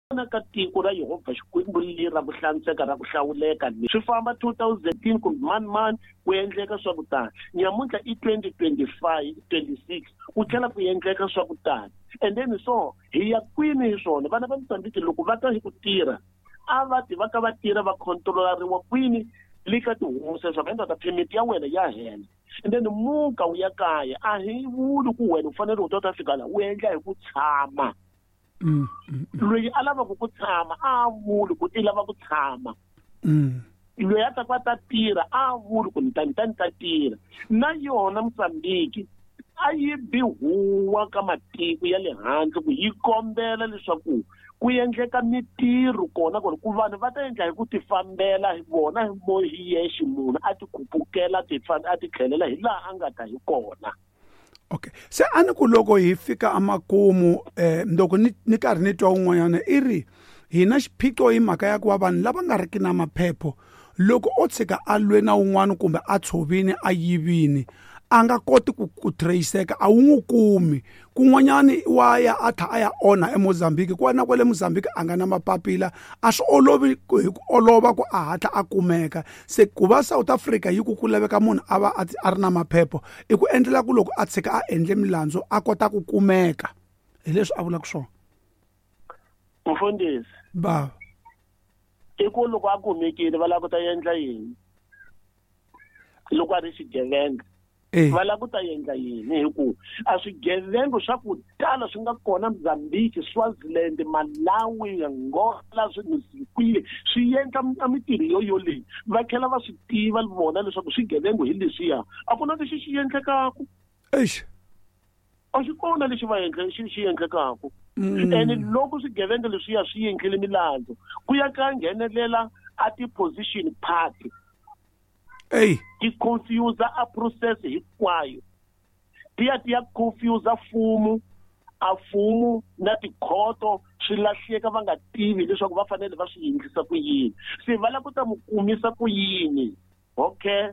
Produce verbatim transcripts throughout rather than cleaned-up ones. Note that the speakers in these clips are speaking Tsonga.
Vona ka tiko ra Yehovha Xikwembu leri ra ku hlantsweka ra ku hlawuleka le swi famba two thousand kumbe mani mani ku endleka swa ku tani nyamuntlha i twenty twenty five twenty six ku tlhela ku endleka swa ku tani and then so hi ya kwini hi swona vana va Mozambique loko va ta hi ku tirha a va ti va ka va tirha va controlariwa kwini le ka tihosi leswaku endla ta permit ya wena ya hela and then muka wu ya kaya a hi vuli ku wena u fanele u ta ta fika laha u endla hi ku tshama Mm, mm, loyi a lavaka ku tshama a vuli ku i lava ku tshama mm. loyi a ta ku a ta tirha a vuli ku ni ta ni ta ni ta tirha na yona Mozambique a yi bi huwa ka matiko ya le handle ku yi kombela leswaku ku endleka mitirho kona kona ku vanhu va ta endla hi ku tifambela hi vona hi mo hi yexe munhu a ti khupukela ti a ti tlhelela hi laha a nga ta hi kona okay se a ni ku loko hi fika amakumu eh loko ni ni karhi ni twa un'wanyana i ri hina xiphiqo hi mhaka ya ku va vanhu lava nga riki na maphepho loko o tshika a lwe na un'wana kumbe a tshovini a yivini a nga koti ku ku trace-eka a wu n'wi kumi kun'wanyani wa ya a tlha a ya onha eMozambique ku na kwale Mozambique a nga na mapapila a swi olovi ku hi ku olova ku a hatla a kumeka se ku va South Africa yi ku ku laveka munhu a va a a ri na maphepho i ku endlela ku loko a tshika a endle milandzu a kota ku kumeka hi leswi a vulaka swona mfundhisi bava i ku loko a kumekile va lava ku ta endla yini loko a ri xigevenga eh va lava ku ta endla yini hi ku a swigevenga swa ku tala swi nga kona Mozambique Swaziland Malawi Angola swi swi endla a mitirho yo yoleyi va tlhela va swi tiva vona leswaku swigevenga hi leswiya a ku na lexi xi endlekaku eish a xi kona lexi va endle xi xi endlekaku Mm. and loko swigevenga leswiya swi endlile milandzu ku ya ka nghenelela a ti-position party ey ti confuse a process hinkwayo ti ya ti ya confuse mfumo a mfumo na tikhoto swi lahleka va nga tivi leswaku va fanele va swi endlisa ku yini se va lava ku ta mu kumisa ku yini okay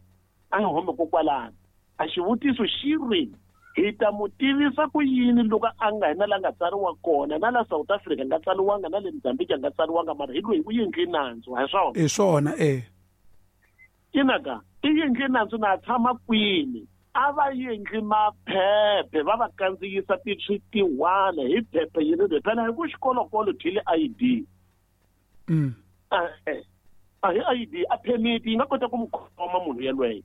a hi humi kokwalano a xivutiso xi ri hi ta mu tivisa ku yini loko a nga hina la nga tsariwa kona na la South Africa nga tsariwanga na le Mozambique a nga tsariwanga mara hi loyi u endle nandzu ha swona hi swona eh inaka i endle nandzu na tshama kwini a va endli maphephe va va kandziyisa ti-tiwana hi phephe yi ri phela hi ku xikolokolo dyile I D mm. a a hi I D a permit yi nga kota ku mu khoma munhu yelweyo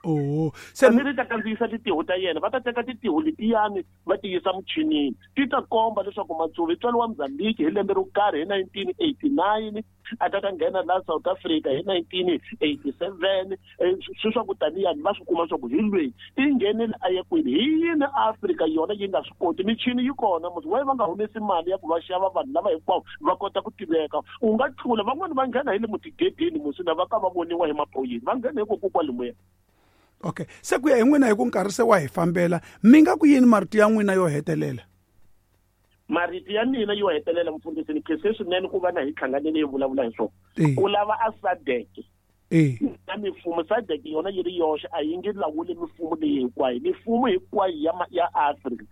oh se se ri ta kandziyisa tintiho ta yena va ta teka tintiho letiyani va ti yisa muchinini ti ta komba leswaku Matsuvi tswalo wa Mozambique hi lembe ro karhi hi nineteen eighty nine a ta ta nghena laha South Africa hi nineteen eighty seven swi swa ku taniyani va swi kuma swa ku hi lweyi i nghenile a ya kwini hi yini Afrika yona yi nga swi koti michini yi kona musi waye va nga humesi mali ya ku va xava vanhu lava hinkwavo va kota ku tiveka u nga tlula van'wani va nghena hi le mutigedeni musi na va ka va voniwa hi maphorisa va nghena hikokwalomuya okay se ku ya hi n'wina hi ku nkarhi se wa hi fambela mi nga ku yini marito ya n'wina yo hetelela marito ya mina yo hetelela mfundhisi ni khense swinene ku va na hi hlanganile hi vulavula hi swona Eh. ku lava a SADC eh na mifumo SADC yona yi ri yoxe a yi nge lawuli mifumo leyi hinkwayo mifumo hinkwayo ya ma- ya Afrika